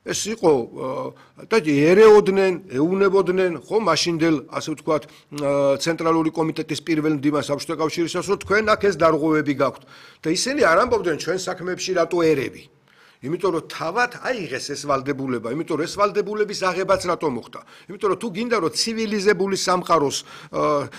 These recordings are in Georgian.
ეს იყო და ერეოდნენ, ეუნებოდნენ, ხო, მაშინდელ, ასე ვთქვათ, ცენტრალური კომიტეტის პირველ მდივანს საბჭოთა კავშირისას, რომ თქვენ აქ ეს დარღვევები გაქვთ. და ისინი არ ამბობდნენ ჩვენ საქმეებში რატო ერები. იმიტომ რომ თავად აიღეს ეს ვალდებულება, იმიტომ რომ ეს ვალდებულების აღებაც რატო მოხდა? იმიტომ რომ თუ გინდა რომ ცივილიზებული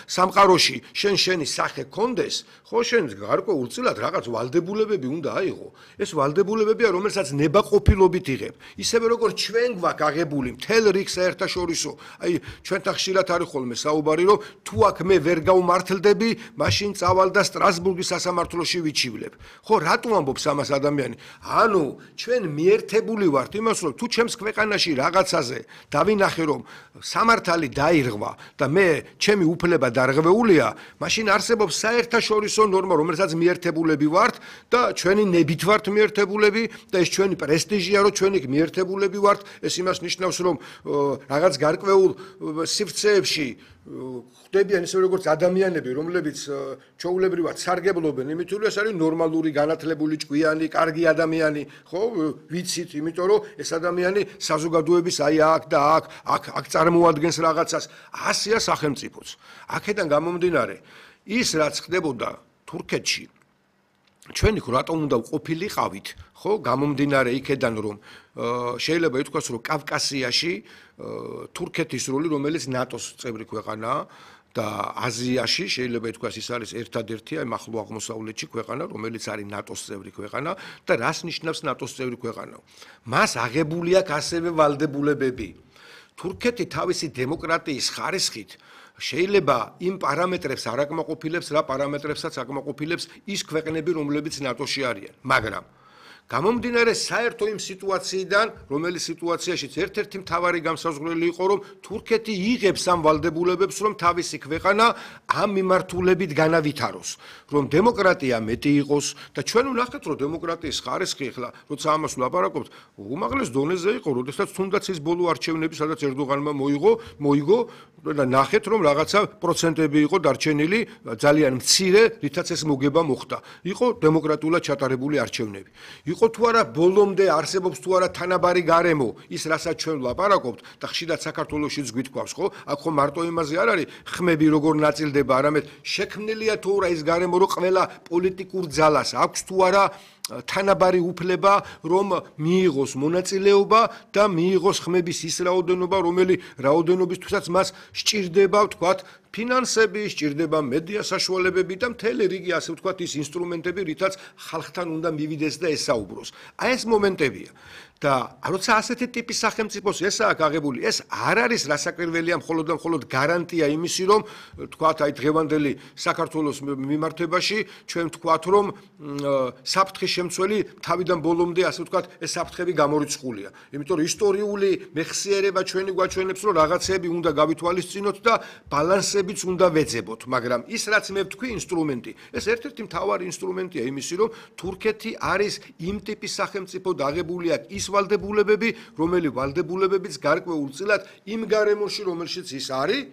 სამყაროში შენი სახე კონდეს, ხო შენ გარკვეულწილად რაღაც ვალდებულებები უნდა აიღო. ეს ვალდებულებებია, რომელსაც ნებაყოფილობით იღებ. ისევე როგორც ჩვენ გვაქვს აღებული მთელ რიგს საერთაშორისო, აი ჩვენთან ხშირად არის ხოლმე საუბარი, რომ თუ აქ მე ვერ გავმართლდები, მაშინ წავალ და სტრასბურგის სასამართლოში ვიჩივლებ. ხო, რატო ამბობს ამას ადამიანი? ანუ ჩვენ მიერთებული ვართ იმას, რომ თუ ჩემს ქვეყანაში რაღაცაზე დავინახე, რომ სამართალი დაირღვა და მე ჩემი უფლება დარღვეულია, მაშინ არსებობს საერთაშორისო ნორმა, რომელსაც მიერთებულები ვართ და ჩვენი ნებით ვართ მიერთებულები და ეს ჩვენი პრესტიჟია, რომ ჩვენი მიერთებულები ვართ. ეს იმას ნიშნავს, რომ რაღაც გარკვეულ სივრცეებში ხდებიან ისე როგორც ადამიანები, რომლებიც ჩვეულებრივად სარგებლობენ, იმიტომ რომ ეს არის ნორმალური, განათლებული, ჭკვიანი, კარგი ადამიანი, ხო, ვიცით, იმიტომ რომ ეს ადამიანი საზოგადოების აი აქ და აქ წარმოადგენს რაღაცას, ასეა სახელმწიფოც. აქედან გამომდინარე, ის რაც ხდებოდა თურქეთში, ჩვენი რატომ უნდა ყოფილიყავით, ხო, გამომდინარე იქედან, რომ შეიძლება ითქვას, რომ კავკასიაში თურქეთის როლი, რომელიც ნატოს წევრი ქვეყანაა და აზიაში შეიძლება ითქვას, ის არის ერთადერთი აი ახლო აღმოსავლეთში ქვეყანა, რომელიც არის ნატოს წევრი ქვეყანა და რას ნიშნავს ნატოს წევრი ქვეყანა? მას აღებული აქვს ასევე ვალდებულებები. თურქეთი თავისი დემოკრატიის ხარისხით შეიძლება იმ პარამეტრებს არ აკმაყოფილებს, რა პარამეტრებსაც აკმაყოფილებს ის ქვეყნები, რომლებიც ნატოში არიან, მაგრამ გამომდინარე საერთო იმ სიტუაციიდან, რომელიც სიტუაციაშიც ერთ-ერთი მთავარი გამსაზღვრელი იყო, რომ თურქეთი იღებს ამ ვალდებულებებს, რომ თავისი ქვეყანა ამ მიმართულებით განავითაროს, რომ დემოკრატია მეტი იყოს და ჩვენ ვნახეთ, რომ დემოკრატიის ხარისხი ახლა, როცა ამას ვლაპარაკობთ, უმაღლეს დონეზე იყო, როდესაც თუნდაც ის ბოლო არჩევნები, სადაც ერდოღანმა მოიგო და ნახეთ, რომ რაღაცა პროცენტები იყო დარჩენილი, ძალიან მცირე, რითაც ეს მოგება მოხდა. იყო დემოკრატულად ჩატარებული არჩევნები. იყო თუ არა ბოლომდე არსებობს თუ არა თანაბარი გარემო, ის რასაც ჩვენ ვლაპარაკობთ და ხშირად საქართველოშიც გვითქვავს, ხო? აქ ხო მარტო იმაზე არ არის ხმები როგორ ნაწილდება, არამედ შექმნილია თუ არა ის გარემო, რომ ყველა პოლიტიკურ ძალას აქვს თუ არა თანაბარი უფლება, რომ მიიღოს მონაწილეობა და მიიღოს ხმების ის რაოდენობა, რაოდენობისთვისაც მას სჭირდება, ვთქვათ, ფინანსები, სჭირდება მედია საშუალებები და მთელი რიგი, ასე ვთქვათ, ის ინსტრუმენტები, რითაც ხალხთან უნდა მივიდეს და ესაუბროს. აი ეს მომენტებია. და როცა ასეთი ტიპის სახელმწიფოს ესაა აღებული, ეს არ არის რასაკვირველია მხოლოდ და მხოლოდ გარანტია იმისი, რომ თქვათ, აი დღევანდელი საქართველოს მიმართებაში ჩვენ ვთქვათ, რომ საფრთხის შემცველი თავიდან ბოლომდე, ასე ვთქვათ, ეს საფრთხები გამორიცხულია. იმიტომ რომ ისტორიული მეხსიერება ჩვენი გვაჩვენებს, რომ რაღაცები უნდა გავითვალისწინოთ და ბალანსებიც უნდა ვეძებოთ, მაგრამ ის რაც მე ვთქვი ინსტრუმენტი, ეს ერთ-ერთი მთავარი ინსტრუმენტია იმისი, რომ თურქეთი არის იმ ტიპის სახელმწიფო და აღებული აქვს ის ვალდებულებები, რომელი ვალდებულებებიც გარკვეულწილად იმ გარემოში, რომელშიც ის არის,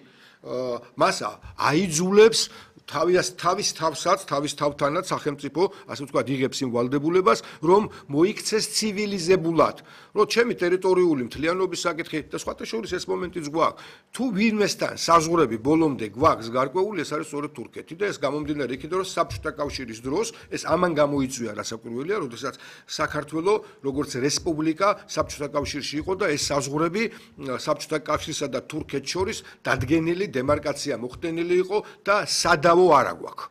მას აიძულებს თავის თავთანაც სახელმწიფო, ასე ვთქვათ, იღებს იმ ვალდებულებას, რომ მოიქცეს ცივილიზებულად, რომ ჩემი ტერიტორიული მთლიანობის საკითხი და სხვათა შორის ეს მომენტიც გვაქვს. თუ ვინმესთან საზღვრები ბოლომდე გვაქვს გარკვეული, ეს არის სწორედ თურქეთი და ეს გამომდინარე იქიდან, რომ საბჭოთა კავშირის დროს ეს ამან გამოიწვია რასაკვირველია, როდესაც საქართველო როგორც რესპუბლიკა საბჭოთა კავშირში იყო და ეს საზღვრები საბჭოთა კავშირსა და თურქეთს შორის დადგენილი დემარკაცია მოხდენილი იყო და სადავო არა გვაქვს.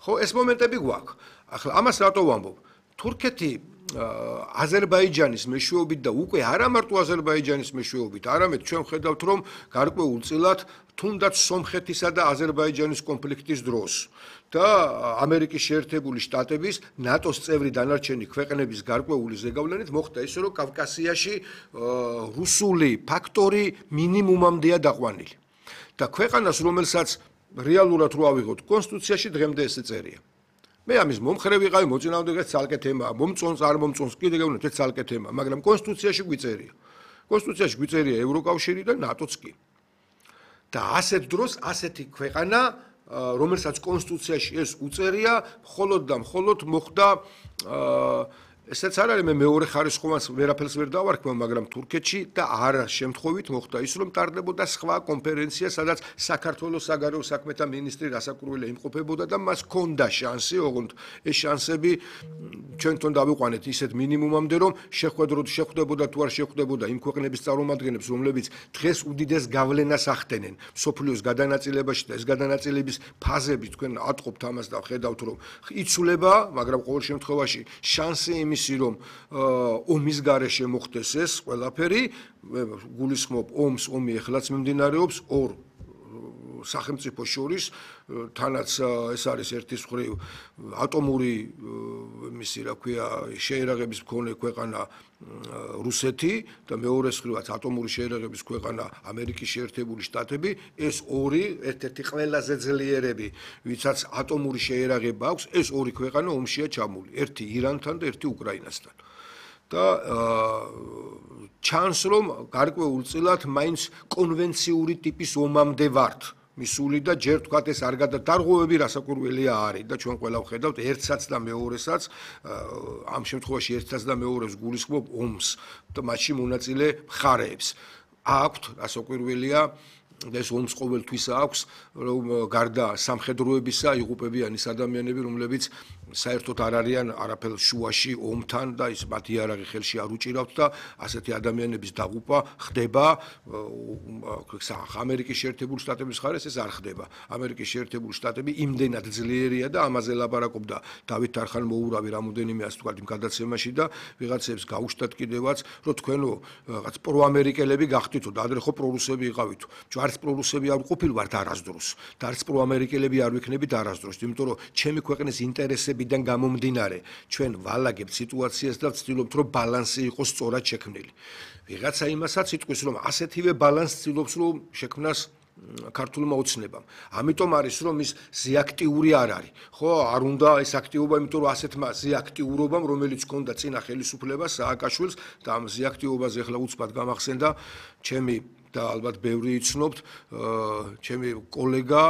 ხო, ეს მომენტები გვაქვს. ახლა ამას რატო ვამბობ? თურქეთი აზერბაიჯანის მეშვეობით და უკვე არა მარტო აზერბაიჯანის მეშვეობით, არამედ ჩვენ ვხედავთ, რომ გარკვეულწილად თუნდაც სომხეთისა და აზერბაიჯანის კონფლიქტის დროს და ამერიკის შეერთებული შტატების ნატოს წევრი დანარჩენი ქვეყნების გარკვეული ზეგავლენით მოხდა ისე, რომ კავკასიაში რუსული ფაქტორი მინიმუმამდეა დაყვანილი. და ქვეყანას, რომელსაც რეალურად რო ავიღოთ კონსტიტუციაში დღემდე ესე წერია. მე ამის მომხრე ვიყავი, მოწინააღმდეგე ცალკე თემაა, მომწონს არ მომწონს, კიდე გეუბნებთ ეს ცალკე თემაა, მაგრამ კონსტიტუციაში გვიწერია. კონსტიტუციაში გვიწერია ევროკავშირი და ნატოც კი. და ასეთ დროს ასეთი ქვეყანა, რომელსაც კონსტიტუციაში ეს უწერია, მხოლოდ და მხოლოდ მოხდა ესეც არ არის მე მეორე ხარისხოვანს ვერაფერს ვერ დავარქმევ, მაგრამ თურქეთში და არა შემთხვევით მოხდა ის, რომ ტარდებოდა სხვა კონფერენცია, სადაც საქართველოს საგარეო საქმეთა მინისტრი რასაკვირველია იმყოფებოდა და მას ჰქონდა შანსი, ოღონდ ეს შანსები ჩვენ თვითონ დავიყვანეთ ისეთ მინიმუმამდე, რომ შეხვდებოდა თუ არ შეხვდებოდა იმ ქვეყნების წარმომადგენლებს, რომლებიც დღეს უდიდეს გავლენას ახდენენ მსოფლიოს გადანაწილებაში და ეს გადანაწილების ფაზები თქვენ ატყობთ ამას და ხედავთ, რომ იცვლება, მაგრამ ყოველ შემთხვევაში შანსი იმისი, რომ ომის გარეშე მოხდეს ეს ყველაფერი, გულისხმობ ომი ეხლაც მიმდინარეობს ორ სახელმწიფო შორის, თანაც ეს არის ერთის მხრივ ატომური მისი რა ქვია შეერაღების მქონე ქვეყანა რუსეთი და მეორეს მხრივაც ატომური შეერაღების ქვეყანა ამერიკის შეერთებული შტატები, ეს ორი ერთ-ერთი ყველაზე ძლიერები, ვისაც ატომური შეერაღება აქვს, ეს ორი ქვეყანა ომშია ჩამული, ერთი ირანთან და ერთი უკრაინასთან. და ჩანს რომ გარკვეულწილად მაინც კონვენციური ტიპის ომამდე ვართ მისული და ჯერ თქვათ ეს არ გადადარღვევები რასაკვირველია არის და ჩვენ ყველა ვხედავთ ერთსაც და მეორესაც ამ შემთხვევაში ერთსაც და მეორეს გულისხმობ ომს და მათში მონაწილე მხარეებს აქვთ რასაკვირველია ეს ომს ყოველთვის აქვს რომ გარდა სამხედროებისა იღუპებიან ის ადამიანები რომლებიც საერთოდ არ არიან არაფერ შუაში ომთან და ის მათი იარაღი ხელში არ უჭირავთ და ასეთი ადამიანების დაღუპვა ხდება ამერიკის შეერთებული შტატების მხარეს ეს არ ხდება ამერიკის შეერთებული შტატები იმდენად ძლიერია და ამაზე ლაპარაკობდა დავით არხანმოურავი რამოდენიმე ასე ვთქვათ იმ გადაცემაში და ვიღაცებს გაუშვათ კიდევაც რომ თქვენო რაღაც პროამერიკელები გახდითო და ადრე ხო პრორუსები იყავითო არც პრორუსები არ ყოფილვართ არასდროს და არც პროამერიკელები არ ვიქნებით არასდროს იმიტომ რომ ჩემი ქვეყნის ინტერესებიდან გამომდინარე ჩვენ ვალაგებთ სიტუაციას და ვცდილობთ რომ ბალანსი იყოს სწორად შექმნილი ვიღაცა იმასაც იტყვის რომ ასეთივე ბალანსს ცდილობს რომ შექმნას ქართულმა ოცნებამ. ამიტომ არის რომ ის ზეაქტიური არ არის. ხო, არ უნდა ეს აქტივობა, იმიტომ რომ ასეთმა ზეაქტიურობამ, რომელიც ჰქონდა წინა ხელისუფლებას სააკაშვილს და ამ ზეაქტიობაზე ახლა უცბად გამახსენდა ჩემი და ალბათ ბევრი იცნობთ ჩემი კოლეგა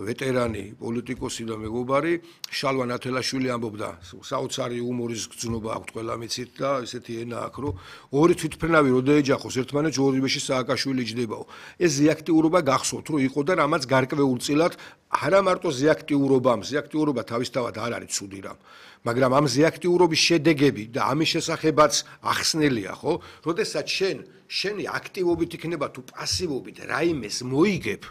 ვეტერანი პოლიტიკოსი და მეგობარი შალვა ნათელაშვილი ამბობდა საოცარი იუმორის გრძნობა აქვს ყველა მიცით და ესეთი ენა აქვს რომ ორი თვითმფრინავი რო ეჯახოს ერთმანეთს ორივეში სააკაშვილი ჯდებაო ეს ზეაქტიურობა გახსოვთ რომ იყო და რამაც გარკვეულწილად არა მარტო ზეაქტიურობა თავისთავად არ არის ცუდი რამ მაგრამ ამ ზეაქტიურობის შედეგები და ამის შესახებაც ახსნელია ხო როდესაც შენი აქტივობით იქნება თუ პასივობით რაიმეს მოიგებ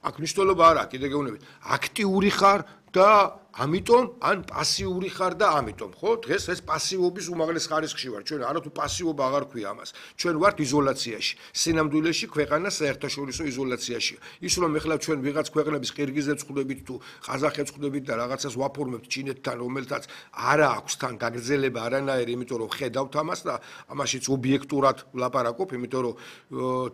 აქ მნიშვნელობა არ აქვს კიდე გეუბნებით აქტიური ხარ და ამიტომ ან პასიური ხარ და ამიტომ ხო დღეს ეს პასივობის უმაღლეს ხარისხში ვარ ჩვენ არა თუ პასივობა აღარ ქვია ამას ჩვენ ვართ იზოლაციაში სინამდვილეში ქვეყანა საერთაშორისო იზოლაციაშია ის რომ ეხლა ჩვენ ვიღაც ქვეყნების ყირგიზებს ხვდებით თუ ყაზახებს ხვდებით და რაღაცას ვაფორმებთ ჩინეთთან რომელთაც არა აქვს თან გაგრძელება არანაირი იმიტომ რომ ხედავთ ამას და ამაშიც ობიექტურად ვლაპარაკობ იმიტომ რომ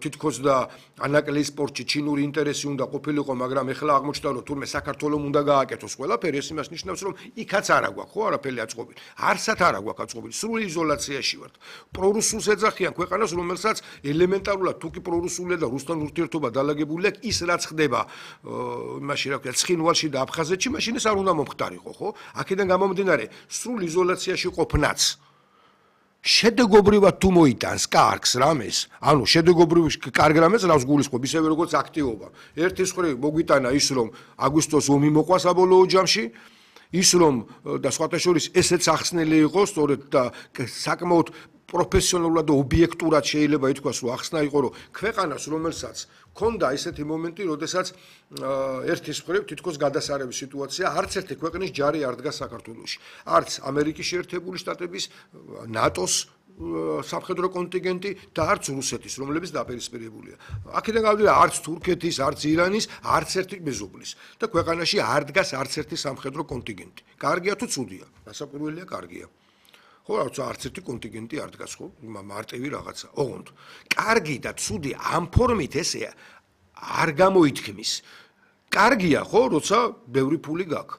თითქოს და ანაკლიის სპორტში ჩინური ინტერესი უნდა ყოფილიყო მაგრამ ეხლა აღმოჩნდა რომ თურმე საქართველოს უნდა გააკეთოს ყველაფერი იმას ნიშნავს რომ იქაც არა გვაქვს ხო არაფერი აწყობილი არსად არა გვაქვს აწყობილი სრული იზოლაციაში ვართ პრორუსულს ეძახიან ქვეყანას რომელსაც ელემენტარულად თუკი პრორუსულია და რუსთან ურთიერთობა დალაგებულია ის რაც ხდება იმაში რა ქვია ცხინვალში და აფხაზეთში მაშინ ეს არ უნდა მომხდარიყო ხო აქედან გამომდინარე სრულ იზოლაციაში ყოფნაც შედეგობრივად თუ მოიტანს კარგს რამეს ანუ შედეგობრივ კარგ რამეს რავს გულისხმობ ისევე როგორც აქტივობა ერთის მხრივ მოგვიტანა ის რომ აგვისტოს ომი მოყვა საბოლოო ჯამში ის რომ და სხვათა შორის ესეც ახსნელი იყო სწორედ და საკმაოდ პროფესიონალურად და ობიექტურად შეიძლება ითქვას რომ ახსნა იყო რომ ქვეყანას რომელსაც ქონდა ესეთი მომენტი როდესაც ერთის მხრივ თითქოს გადასარევი სიტუაცია არც ერთი ქვეყნის ჯარი არ დგას საქართველოში არც ამერიკის შეერთებული შტატების ნატოს სამხედრო კონტინგენტი და არც რუსეთის რომლებიც დაპირისპირებულია აქედან გავდივარ არც თურქეთის არც ირანის არც ერთი მეზობლის და ქვეყანაში არ დგას არც ერთი სამხედრო კონტინგენტი კარგია თუ ცუდია დასაკვირველია კარგია ხო არც ერთი კონტინგენტი არ დგას ხო მარტივი რაღაცა ოღონდ კარგი და ცუდი ამ ფორმით ესე არ გამოითქმის კარგია ხო როცა ბევრი ფული გაქვს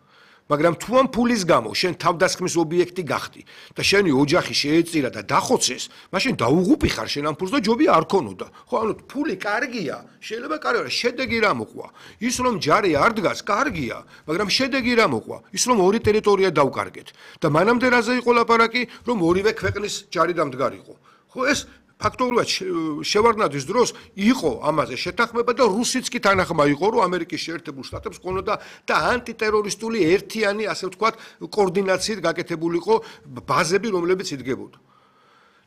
მაგრამ თუ ამ ფულის გამო შენ თავდასხმის ობიექტი გახდი და შენი ოჯახი შეეწირა და დახოცეს, მაშინ დაუღუპი ხარ შენ ამ ფულს და ჯობია არ ქონოდა. ხო, ანუ ფული კარგია, შეიძლება კარგია, შედეგი რა მოყვა. ის რომ ჯარი არ დგას, კარგია, მაგრამ შედეგი რა მოყვა? ის რომ ორი ტერიტორია დავკარგეთ და მანამდე რაზე იყო ლაპარაკი, რომ ორივე ქვეყნის ჯარი დამდგარიყო. ხო, ეს ფაქტობრივად შევარდნაძის დროს იყო ამაზე შეთანხმება და რუსიც კი თანახმა იყო, რომ ამერიკის შეერთებულ შტატებს ქონოდა და ანტიტერორისტული ერთიანი, ასე ვთქვათ, კოორდინაციით გაკეთებულიყო ბაზები, რომლებიც იდგებოდა.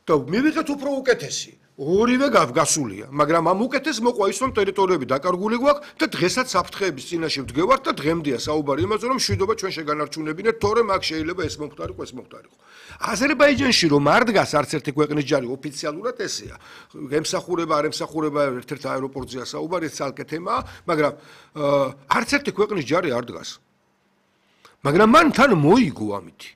და მივიღეთ უფრო უკეთესი. ორივე გასულია, მაგრამ ამ უკეთეს მოყვა ის, რომ ტერიტორიები დაკარგული გვაქვს და დღესაც საფრთხეების წინაშე ვდგევართ და დღემდეა საუბარი იმაზე, რომ მშვიდობა ჩვენ შეგანარჩუნებინეთ, თორემ აქ შეიძლება ეს მომხდარიყო, ეს მომხდარიყო. აზერბაიჯანში რომ არ დგას არც ერთი ქვეყნის ჯარი ოფიციალურად ესეა. ემსახურება, არ ემსახურება, ერთ-ერთ აეროპორტზეა საუბარი, ეს ცალკე თემაა, მაგრამ არც ერთი ქვეყნის ჯარი არ დგას. მაგრამ მან თან მოიგო ამითი.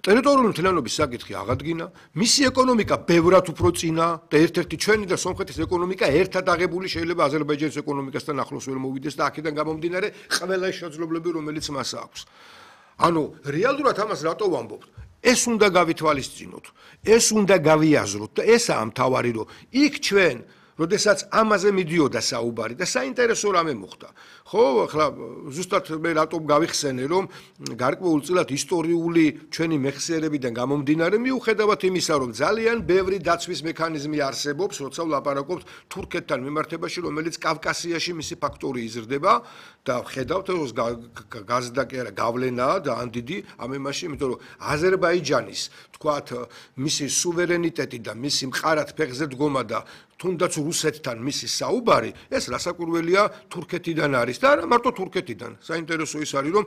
ტერიტორიული მთლიანობის საკითხი აღადგინა, მისი ეკონომიკა ბევრად უფრო წინა და ერთ-ერთი ჩვენი და სომხეთის ეკონომიკა ერთად აღებული შეიძლება აზერბაიჯანის ეკონომიკასთან ახლოს ვერ მოვიდეს და აქედან გამომდინარე ყველა შესაძლებლობები, რომელიც მას აქვს. ანუ რეალურად ამას რატო ვამბობთ? ეს უნდა გავითვალისწინოთ, ეს უნდა გავიაზროთ და ესაა მთავარი, რომ იქ ჩვენ როდესაც ამაზე მიდიოდა საუბარი და საინტერესო რამე მოხდა. ხო, ახლა ზუსტად მე რატომ გავიხსენე, რომ გარკვეულწილად ისტორიული ჩვენი მეხსიერებიდან გამომდინარე, მიუხედავად იმისა, რომ ძალიან ბევრი დაცვის მექანიზმი არსებობს, როცა ვლაპარაკობთ თურქეთთან მიმართებაში, რომელიც კავკასიაში მისი ფაქტორი იზრდება და ხედავთ, რომ გაზდა კი არა, გავლენაა და ან დიდი ამ იმაში, იმიტომ რომ აზერბაიჯანის, თქვათ, მისი სუვერენიტეტი და მისი მყარად ფეხზე დგომა და თუნდაც რუსეთთან მისი საუბარი, ეს რასაკვირველია თურქეთიდან არის და არა მარტო თურქეთიდან. საინტერესო ის არის, რომ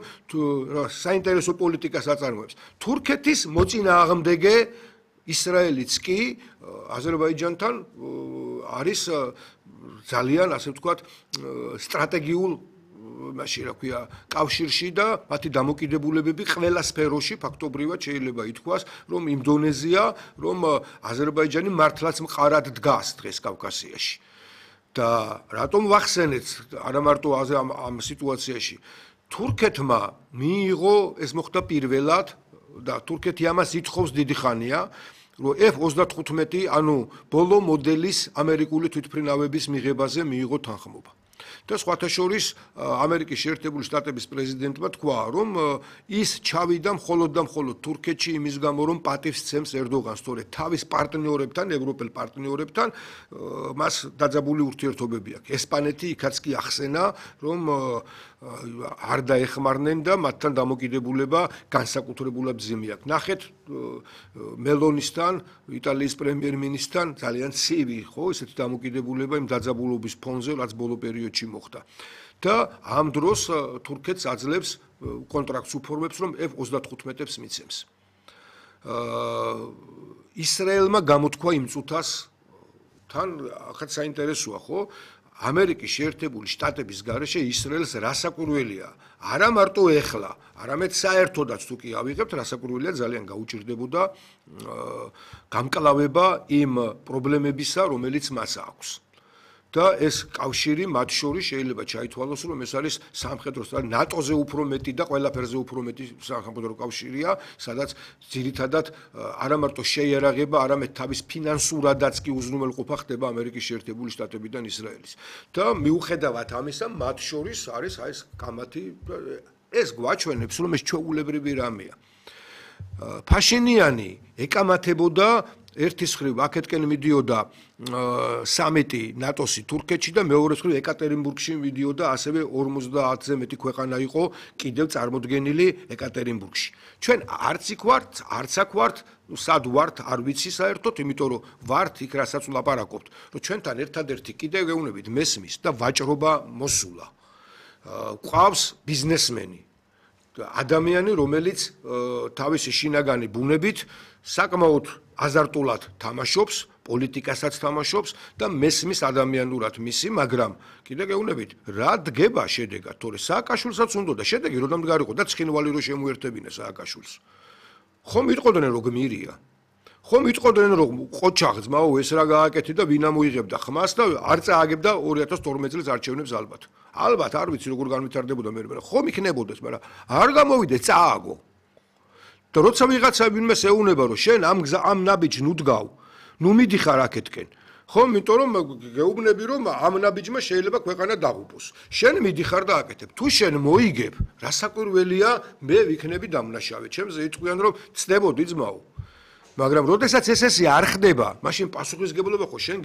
საინტერესო პოლიტიკას აწარმოებს. თურქეთის მოწინააღმდეგე ისრაელიც კი აზერბაიჯანთან არის ძალიან, ასე ვთქვათ, სტრატეგიულ მაშინ რა ქვია კავშირში და მათი დამოკიდებულებები ყველა სფეროში ფაქტობრივად შეიძლება ითქვას, რომ იმ დონეზეა, რომ აზერბაიჯანი მართლაც მყარად დგას დღეს კავკასიაში. და რატომ ვახსენეთ არა მარტო ამ სიტუაციაში თურქეთმა მიიღო ეს მოხდა პირველად და თურქეთი ამას ითხოვს დიდი ხანია, რომ F-35, ანუ ბოლო მოდელის ამერიკული თვითმფრინავების მიღებაზე მიიღო თანხმობა. და სხვათა შორის ამერიკის შეერთებული შტატების პრეზიდენტმა თქვა, რომ ის ჩავიდა მხოლოდ და მხოლოდ თურქეთში იმის გამო, რომ პატივს სცემს ერდოღანს, თორე თავის პარტნიორებთან, ევროპელ პარტნიორებთან მას დაძაბული ურთიერთობები აქვს. ესპანეთი იქაც კი ახსენა, რომ არ დაეხმარნენ და მათთან დამოკიდებულება განსაკუთრებულად ძიმი აქვს. ნახეთ მელონისთან, იტალიის პრემიერ-მინისტრთან ძალიან ცივი, ხო, ესეთი დამოკიდებულება იმ დაძაბულობის ფონზე, რაც ბოლო პერიოდში მოხდა. და ამ დროს თურქეთს აძლევს კონტრაქტს უფორმებს, რომ F-35-ებს მიცემს. ისრაელმა გამოთქვა იმ წუთას თან ახაც საინტერესოა, ხო? ამერიკის შეერთებული შტატების გარეშე ისრაელს რასაკვირველია, არა მარტო ეხლა, არამედ საერთოდაც თუ კი ავიღებთ, რასაკვირველია ძალიან გაუჭირდებოდა გამკლავება იმ პრობლემებისა, რომელიც მას აქვს. და ეს კავშირი მათ შორის შეიძლება ჩაითვალოს, რომ ეს არის სამხედრო ნატოზე უფრო მეტი და ყველაფერზე უფრო მეტი სამხედრო კავშირია, სადაც ძირითადად არა მარტო შეიარაღება, არამედ თავის ფინანსურადაც კი უზრუნველყოფა ხდება ამერიკის შეერთებული შტატებიდან ისრაელის. და მიუხედავად ამისა, მათ შორის არის ეს კამათი, ეს გვაჩვენებს, რომ ეს ჩვეულებრივი რამეა. ფაშინიანი ეკამათებოდა ერთის მხრივ აქეთკენ მიდიოდა სამიტი ნატოსი თურქეთში და მეორეს მხრივ ეკატერინბურგში მიდიოდა ასევე 50-ზე მეტი ქვეყანა იყო კიდევ წარმოდგენილი ეკატერინბურგში. ჩვენ არც იქ ვართ, არც აქ ვართ, სად ვართ, არ ვიცი საერთოდ, იმიტომ რომ ვართ იქ რასაც ვლაპარაკობთ, რომ ჩვენთან ერთადერთი კიდევ გეუბნებით მესმის და ვაჭრობა მოსულა. ყავს ბიზნესმენი, ადამიანი, რომელიც თავისი შინაგანი ბუნებით საკმაოდ აზარტულად თამაშობს, პოლიტიკასაც თამაშობს და მესმის ადამიანურად მისი, მაგრამ კიდე გეუბნებით, რა დგება შედეგად, თორე სააკაშვილსაც უნდა და შედეგი რომ დამდგარიყო და ცხინვალი რომ შემოერთებინა სააკაშვილს. ხომ იტყოდნენ რომ გმირია. ხომ იტყოდნენ რომ ყოჩაღ ძმაო ეს რა გააკეთე და ვინ ამოიღებდა ხმას და არ წააგებდა 2012 წლის არჩევნებს ალბათ. ალბათ არ ვიცი როგორ განვითარდებოდა მე, ხომ იქნებოდეს, მაგრამ არ გამოვიდე წააგო. და როცა ვიღაცა ვინმეს ეუნება, რომ შენ ამ ნაბიჯს ნუ დგავ, ნუ მიდიხარ აქეთკენ. ხო, იმიტომ რომ გეუბნები რომ ამ ნაბიჯმა შეიძლება ქვეყანა დაღუპოს. შენ მიდიხარ და აკეთებ. თუ შენ მოიგებ, რა საკვირველია, მე ვიქნები დამნაშავე. ჩემზე იტყვიან რომ ცდებოდი ძმაო. მაგრამ როდესაც ეს არ ხდება, მაშინ პასუხისგებლობა ხო შენ